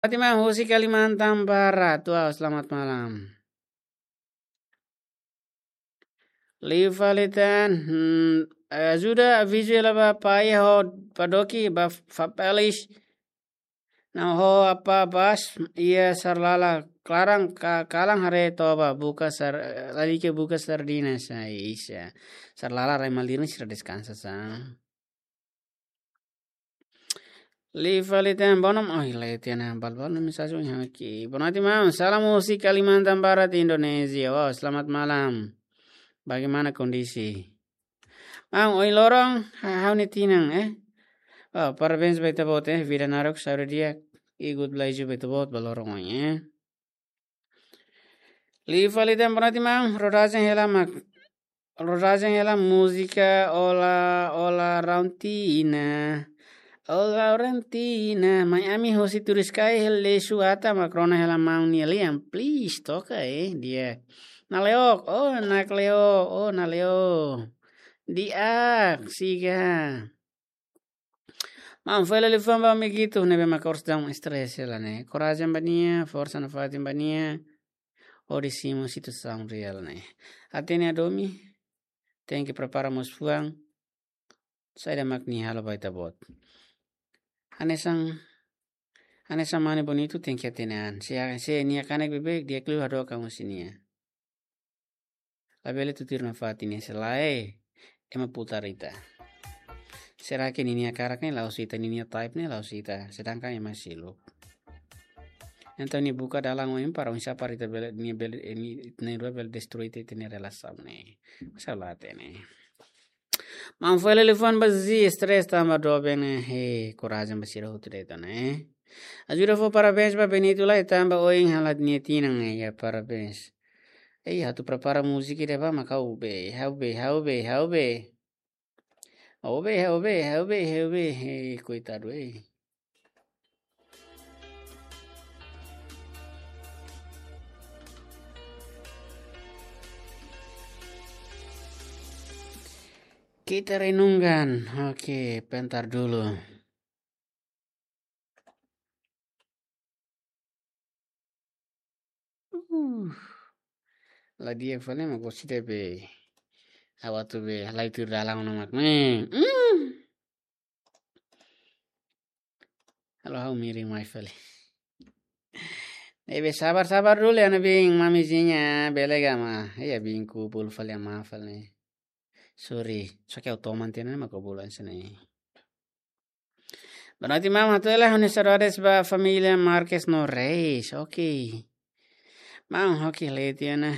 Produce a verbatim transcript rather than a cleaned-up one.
Fatima husi Kalimantan Barat, wow, selamat malam. Liu fali tan, hmm, ajuda avizu hela ba pai ho padoki ba Fapelis. Nah, ho apa bas, iha Sarlala klaran ka, kalan haree toba buka sar, eh, lalika buka sardina sa isa. Sarlala rai malirin sira deskansa sa. Liu fali tan bonom, oh, ila tiana balbal no mensajen yang ki. Boa noite, maun. Salam husi Kalimantan Barat, Indonesia. Wow, selamat malam. Bagaimana kondisi? Maun, ohin loron, ha, ha'u-nia tinan, eh. Wow, parabéns ba ita-boot, eh. Vida naruk, saúde di'ak, i good luck ba ita-boot ba loron ohin, eh. Liu fali tan boa noite, maun, rodajen hela mak, rodajen hela múzika Ola, Ola Rauntina. Ola Rauntina, mai ami hosi Turiskai hela suata mak rona hela maun nia lian. Please, toka, eh, di'ak. Nale'ok, oh, nakle'ok, oh, nale'ok. Di'ak, siga. Maun, fali liafuan ba amiguitu ne'ebé mak orsida stress hela ne'e. Korajen ba nia, forsa nafatin ba nia. Hodi simu situasaun reál ne'e. Hatene hadomi, tenke prepara mós fuan. Saida mak nia halo ba ita-boot. Hanesan, hanesan mane bonitu tenke hatene an. Se, se nia kanek beibeik, di'ak liu hadook an husi nia. Labele tutuir nafatin nia, se lae, ema putar ita. Será que ninia karak ne'e la'ós ita, ninia type ne'e la'ós ita, sedangkan ema seluk. Entaun nia buka dalan oin para oinsá para ita bele, nia bele, eh, nia, nia rua bele destrui ita, ita-nia relasaun ne'e. Masalah hatene. Maun, fali liafuan ba Zi, stress tanba doben ne'e, he, korajen ba sira hotu de'it ona, eh. Ajuda fó parabéns ba Benito lai tanba ohin hala'o nia tinan, eh, ya parabéns. Eh, atu prepara múzika ida ba mak ha'u be, ha'u be, ha'u be, ha'u be. Ha'u be, ha'u be, ha'u be, ha'u be, eh, koitadu, eh. Kita renungkan. Oke, pentar dulu. Uh. La di'ak fali mak orsida be. Ha'u atu be, halai tuir dalan ona mak. Hmm. Hmm. Halo, ha'u miring mai fali. Ne'ebé sabar, sabar dulu ya, ne'ebé mamizinha, bele gama. Ya, bingku bulu fali ama fali. Sorry, só que eu tô mantendo uma cobula, isso aí. Boa noite, maun. Hato'o hela ha'u-nia saudades ba família Marques no Reis. Ok. Maun, ok, leti ona.